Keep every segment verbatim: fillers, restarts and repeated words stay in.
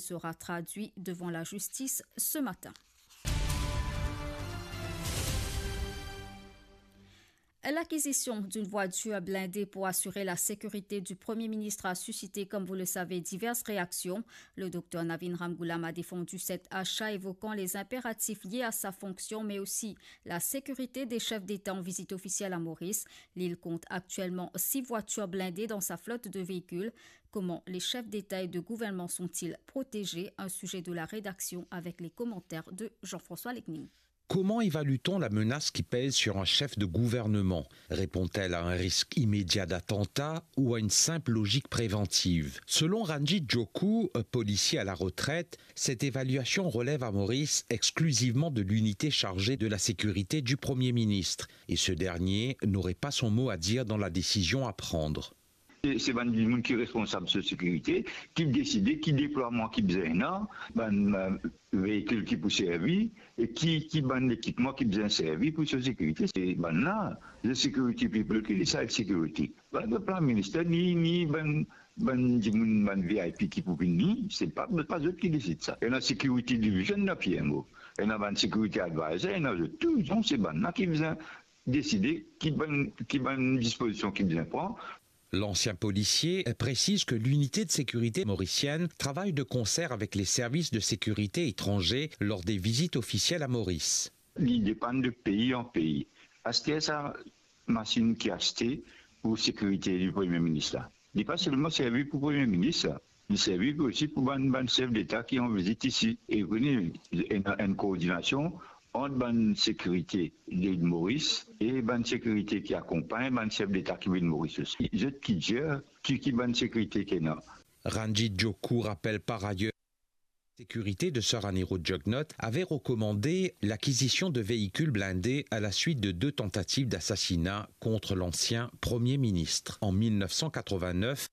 sera traduit devant la justice ce matin. L'acquisition d'une voiture blindée pour assurer la sécurité du Premier ministre a suscité, comme vous le savez, diverses réactions. Le docteur Navin Ramgoolam a défendu cet achat, évoquant les impératifs liés à sa fonction, mais aussi la sécurité des chefs d'État en visite officielle à Maurice. L'île compte actuellement six voitures blindées dans sa flotte de véhicules. Comment les chefs d'État et de gouvernement sont-ils protégés ? Un sujet de la rédaction avec les commentaires de Jean-François Lecning. Comment évalue-t-on la menace qui pèse sur un chef de gouvernement ? Répond-elle à un risque immédiat d'attentat ou à une simple logique préventive ? Selon Ranjit Joku, un policier à la retraite, cette évaluation relève à Maurice exclusivement de l'unité chargée de la sécurité du Premier ministre, et ce dernier n'aurait pas son mot à dire dans la décision à prendre. Se, se bann dimoun ki responsab so sekirite, ki deside ki deplwaman ki bizin ena, bann, eh, veikil ki pou servi, e ki, ki bann lekipman ki bizin servi pou so sekirite. Se bann la, the security people ki decide security. Bann, bann Prime Minister, ni, ni bann, bann dimoun, bann V I P ki pou vini, se pa, pa zot ki desid sa. Ena security division, ena P M O. Ena bann security advisor, ena zot tou, donk se bann la ki bizin deside ki bann, ki bann dispozision ki bizin pran. L'ancien policier précise que l'unité de sécurité mauricienne travaille de concert avec les services de sécurité étrangers lors des visites officielles à Maurice. Li depann de pei an pei. Aster sa masinn ki aste pou sekirite di Premie Minis la, li pa selman servi pou Premie Minis la, li servi osi pou bann, bann sef deta ki an vizit isi. E kone ena enn koordinasion ant bann sekirite de Moris e bann sekirite ki akonpagn bann sef deta ki vinn Moris osi. Zot ki dir ki, ki bann sekirite ki ena. Ranjit Joku rappelle par ailleurs sécurité de Sir Anirudh Jugnauth avait recommandé l'acquisition de véhicules blindés à la suite de deux tentatives d'assassinat contre l'ancien Premier ministre en mille neuf cent quatre-vingt-neuf.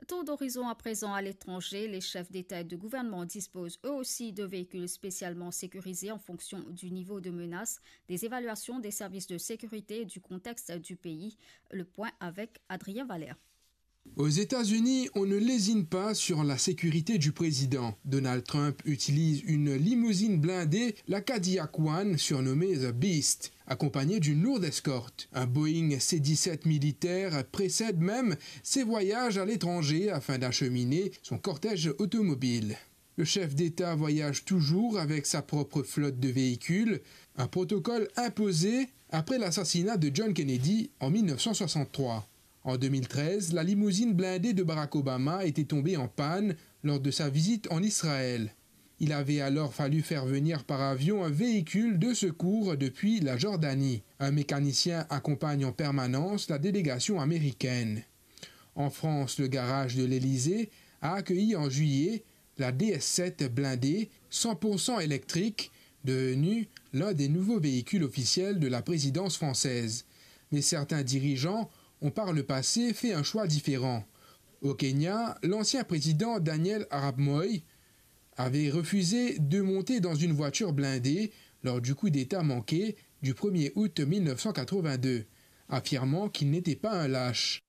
Tour d'horizon à présent à l'étranger. Les chefs d'État et de gouvernement disposent eux aussi de véhicules spécialement sécurisés en fonction du niveau de menace, des évaluations des services de sécurité et du contexte du pays. Le point avec Adrien Valère. Aux États-Unis, on ne lésine pas sur la sécurité du président. Donald Trump utilise une limousine blindée, la Cadillac One, surnommée The Beast, accompagnée d'une lourde escorte. Un Boeing C dix-sept militaire précède même ses voyages à l'étranger afin d'acheminer son cortège automobile. Le chef d'État voyage toujours avec sa propre flotte de véhicules, un protocole imposé après l'assassinat de John Kennedy en mille neuf cent soixante-trois. En deux mille treize, la limousine blindée de Barack Obama était tombée en panne lors de sa visite en Israël. Il avait alors fallu faire venir par avion un véhicule de secours depuis la Jordanie. Un mécanicien accompagne en permanence la délégation américaine. En France, le garage de l'Élysée a accueilli en juillet la D S sept blindée cent pour cent électrique, devenue l'un des nouveaux véhicules officiels de la présidence française. Mais certains dirigeants ont par le passé fait un choix différent. Au Kenya, l'ancien président Daniel Arap Moi avait refusé de monter dans une voiture blindée lors du coup d'État manqué du premier août mille neuf cent quatre-vingt-deux, affirmant qu'il n'était pas un lâche.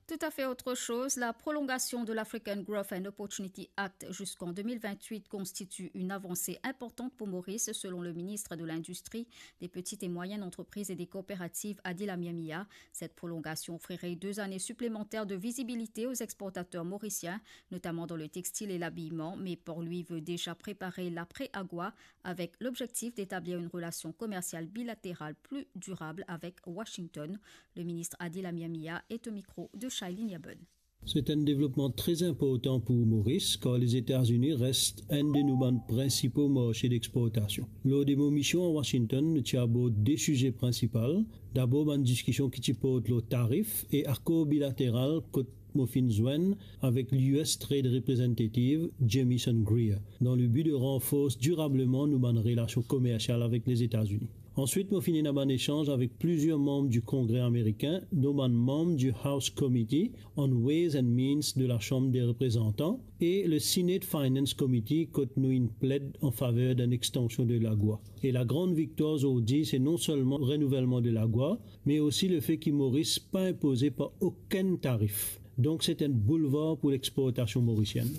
Tout à fait autre chose, la prolongation de l'African Growth and Opportunity Act jusqu'en deux mille vingt-huit constitue une avancée importante pour Maurice, selon le ministre de l'Industrie, des petites et moyennes entreprises et des coopératives, Adil Amyamiya. Cette prolongation offrirait deux années supplémentaires de visibilité aux exportateurs mauriciens, notamment dans le textile et l'habillement, mais Port-Louis veut déjà préparer l'après-AGOA avec l'objectif d'établir une relation commerciale bilatérale plus durable avec Washington. Le ministre Adil Amyamiya est au micro de Shailene Yabon. C'est un développement très important pour Maurice, car les États-Unis restent un de nos bann principaux marchés d'exportation. Lors de mo mision à Washington, nou ti abord de size prinsipal. Dabor, bann diskision ki ti port lor tarif e akor bilateral kot mo finn zwenn avek l'U S Trade Representative Jamieson Greer, dans le but de renforcer durablement nou bann relasion komersial avek Lezeta-Zini. Answit, mo finn ena bann esanz avek plizier manm di Kongre amerikin, dont bann manm di House Committee on Ways and Means de la Chambre des Représentants e le Senate Finance Committee, kot nou inn pled an faver d'enn extansion de lagwa. E lagran viktwar zordi, se non selman renouvelman de lagwa, me osi lefe ki Moris pa inpoze par okenn tarif. Donk, se enn boulvar pou lexportasion morisienn.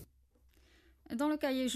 Dan le kaye